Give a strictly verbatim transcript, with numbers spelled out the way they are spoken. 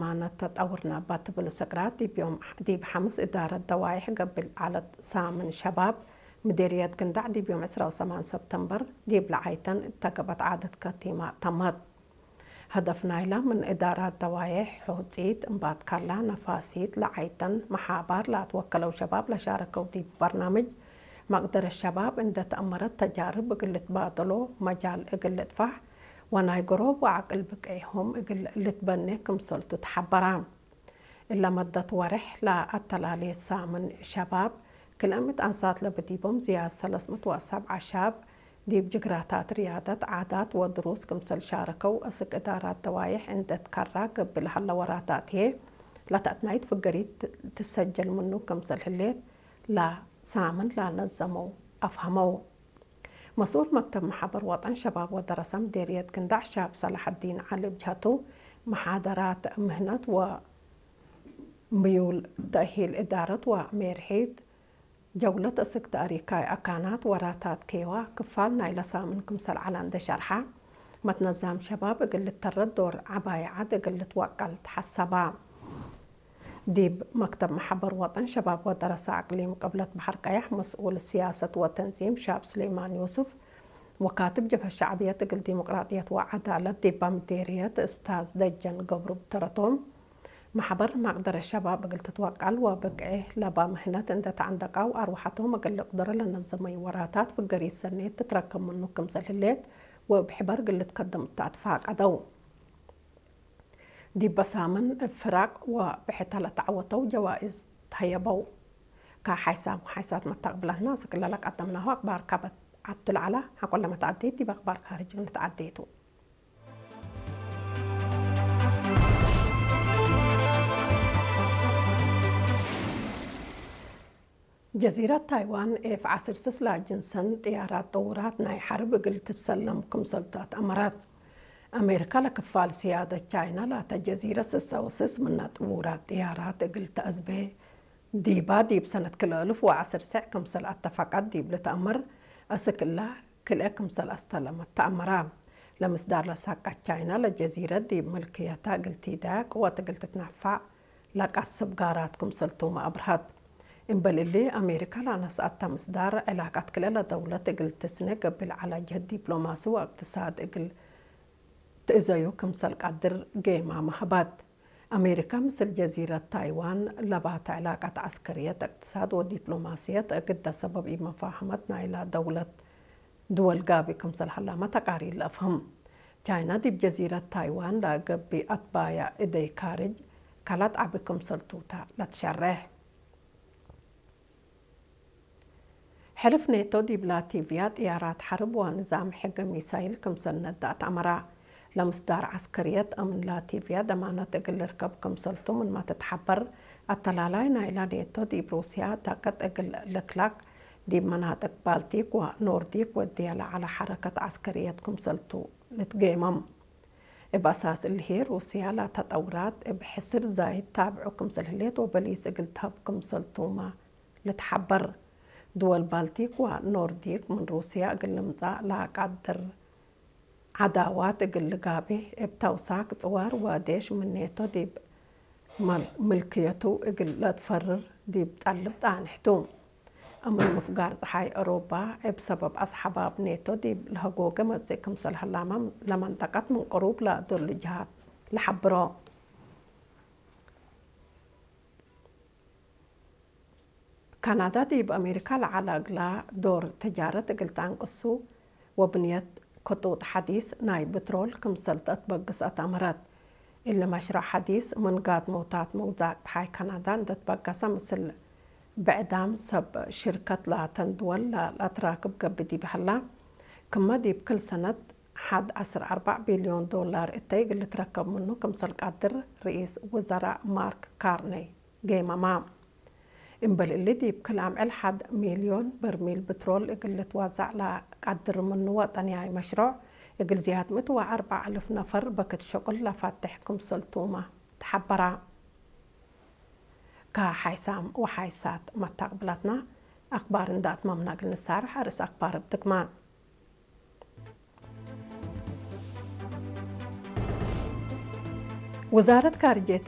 ማነት ተጠውርነ እባ ትብል ስቅራት፣ ዲብ ዮም፣ ዲብ ሐምስ እዳረት ደዋይሕ ገብእ ለዐለት ሳምን ሸባብ ምዴርየት ግንዳዕ፣ ዲብ ዮም ዕስራ ወሰማን ሰብተምበር ዲብ ለዓይተን እተ ገብአት ዓደት ከቲማ ተመት። ሀደፍ ናይላ ምን እዳራት ደዋይሕ ሖጺት፣ እምባትካላ፣ ነፋሲት፣ ለዓይተን መሓባር ለአትወከለው ሸባብ ለሻረከው ዲብ በርናምጅ መቅደረት ሸባብ እንዴ ተአመረት፣ ተጃርብ እግል ልትባደሎ መጃል እግል ልጥፋሕ፣ ወናይ ገሮብ ወዐቅል ብቅዕሆም እግል ልትበኔ ክምሰልቱ ተሐበራ። እለ መደት ወሬሕ ለአተላሌ ሳምን ሸባብ፣ ክልኤ ምእት አንሳት ለብዲቦም ዝያድ ሰለስ ምእት ወሰብዓ ሻብ፣ ዲብ ጅግራታት ርያደት፣ ዓዳት ወድሩስ ክምሰል ሻረከው፣ እስክ እዳራት ደዋይሕ እንዴ ትከራ ገብእ ለሀለ ወራታት ህዬ፣ ለተአትናይት ፍገሪት ትሰጀል ምኑ ክምሰል ህሌት ለሳምን ለነዘመው አፍሀመው። መስኡል መክተብ መሓበር ወጠን ሸባብ ወደረሰ ምዴርየት ግንዳዕ ሻብ ሰላሐዲን ዐሊ እብ ጀሀቱ፣ መሓደራት ምህነት ወምዩል ተእሂል እዳረት ወሜርሒት ጀውለት እስክ ተእሪካይ አካናት ወራታት ኬዋ ክፋል ናይለ ሳምን ክምሰል ዐለ እንዴ ሸርሐ፣ መትነዛም ሸባብ እግል ልተረድ ዶር ዐባይ ዐድ እግል ልትወቀል ተሐሰባ። ዲብ መክተብ መሐበር ወጠን ሸባብ ወደረሰ አቅሊም ቅብለት በሐር ቀያሕ መስኡል ስያሰት ወተንዚም ሻብ ሱሌማን ዮስፍ ወካትብ ጀብሀት ሸዕብየት እግል ዲሞቅራጥየት ወዐዳለት ዲባ ምዴርየት እስታዝ ደጀን ገብሩ ብተረቶም፣ መሐበር መቅደረት ሸባብ እግል ትትወቀል ወብቅዔ ለባ ምህነት እንዴ ተዐንደቃው አርወሐቶም እግል ልቅደሮ ለነዘመዩ ወራታት ፍገሪት ሰኔት ትትረከብ ምኑ ክምሰል ህሌት ወእብ ሕበር እግል ልትከደም እተ አትፋቀደው። ዲበ ሳምን እብ ፍራቅ ወብሕተ ለተዐወተው ጀዋይዝ ተሀየበው። ከሐይሳም ወሐይሳት መተቅብለትና፣ እስክ እለ ለቀደምናሁ አክባር ከበት ዐቱ ለዐላ፣ ሐቆለ መትዐዴት ዲብ አክባር ካርጅ ንትዐዴ ቱ። ጀዚረት ታይዋን ኤፍ ዐስር ስስ ለአጅንሰን ጥያራት ጠውራት ናይ ሐርብ እግል ትሰለም ክምሰልቱ አትአመረት። አሜሪካ ለክፋል ስያደት ቻይና ላተ ጀዚረት ስሰ ወስስ ምነ ጥውራት ጥያራት እግል ተአዝቤ ዲባ፣ ዲብ ሰነት ክልኤ አልፍ ወዐስር ሰዕ ክምሰል አተፈቀት ዲብ ልትአመር፣ እስክ እላ ክልኤ ክምሰል አስተለመት ተአመራ። ለምስዳር ለሳቀት ቻይና ለጀዚረት ዲብ ምልክየታ እግል ቲዳያ ቅወት እግል ትትነፋዕ ለቀስብ ጋራት ክምሰልቱመ አብርሀት። እምበል እሊ፣ አሜሪካ ለአነስአተ ምስዳር፣ ዕላቀት ክልኤ ለደውለት እግል ትስኔ ገብእ ለዐለ ጅህድ ዲፕሎማሲ ወእቅትሳድ እግል ትእዘዩ ክምሰል ቀድር ጌማመ ሀባት። አሜሪካ ምስል ጀዚረት ታይዋን ለባተ ዕላቀት ዐስከርየት፣ እቅትሳድ ወዲፕሎማስየት እግደ ሰበብ ኢመፋሀመት ናይላ ደውለት ድወል ጋብእ ክምሰል ሀላመ ተቃሪር ለአፍህም። ቻይና ዲብ ጀዚረት ታይዋን ለገብእ አትባያ እደይ ካርጅ ከላት ዐቢ ክምሰልቱ ተ ለትሸሬሕ። ሕልፍ ኔቶ ዲብ ላቲቪያ ጥያራት ሐርብ ወንዛም ሕገ ሚሳይል ክምሰል ነዳ አትአመራ። ለምስዳር ዐስከርየት አምን ላቲቪያ ደማነት እግል ልርከብ ክምሰልቱ ምንመ ትትሐበር፣ አተላላይ ናይላ ኔቶ ዲብ ሩስያ ዳቅጥ እግል ልክላቅ፣ ዲብ መናጥቅ ባልቲክ ወኖርዲክ ወድየ ለዐለ ሐረከት ዐስከርየት ክምሰልቱ ልትጌመም። እብ አሳስ እሊ ህዬ፣ ሩስያ ላተ ጠውራት እብ ሕስር ዛይድ ታብዑ ክምሰል ህሌት ወበሊስ እግል ተሀብ ክምሰልቱመ ልትሐበር። ድወል ባልቲክ ወኖርዲክ ምን ሩስያ እግል ልምጸእ ለአቃድር ዐዳዋት እግል ልጋብህ፣ እብ ተውሳክ ጽዋር ወዴሽ ምን ኔቶ ዲብ መ-፣ ምልክየቱ እግል ለትፈርር ዲብ ጠልብ ጣንሕ ቱ። አምን ምፍጋር ጸሓይ አውሮፓ፣ እብ ሰበብ አስሐባብ ኔቶ ዲብ ለሀጎገ መጽእ ክምሰል ሀላመ፣ ለመንጠቀት ምን ቅሩብ ለዶሉ ጀሃት ለሐብሮ። ካናዳ ዲብ አሜሪካ ለዐለ እግላ ዶር ተጃረት እግል ተአንቅሱ ወብንየት ክጡጥ ሐዲስ ናይ ብትሮል ክምሰል ተአትበግስ አትአመረት። እሊ መሽረዕ ሐዲስ ምን ጋድሞታት መውዛቅ ጸሓይ ካናዳ እንዴ ትበገሰ፣ ምስል ብዕዳም ሰብ ሽርከት ላተን ድወል ለአትራክብ ገብእ ዲብ ሀላ፣ ክመ ዲብ ክል ሰነት ሐድ ዐስር አርበዕ ቢልዮን ዶላር እተይ እግል ልትረከብ ምኑ ክምሰል ቀድር ርኢስ ውዘራእ ማርክ ካርኔይ ጌመማ። እምበል እሊ፣ ዲብ ክል አምዕል ሐድ ሚልዮን በርሚል ብትሮል እግል ልትወዘዕ ለቀድር ምኑ ወጠንያይ መሽሮዕ፣ እግል ዝያድ ምእት ወአርበዕ አልፍ ነፈር በክት ሸቁል ለፈትሕ ክምሰልቱመ ተሐበራ። ከሐይሳም ወሐይሳት መታቅብላትና አክባር እንደ አትመምና እግል ንሳርሕ፣ አርእስ አክባር እብ ድግማን። ውዛረት ካርጅየት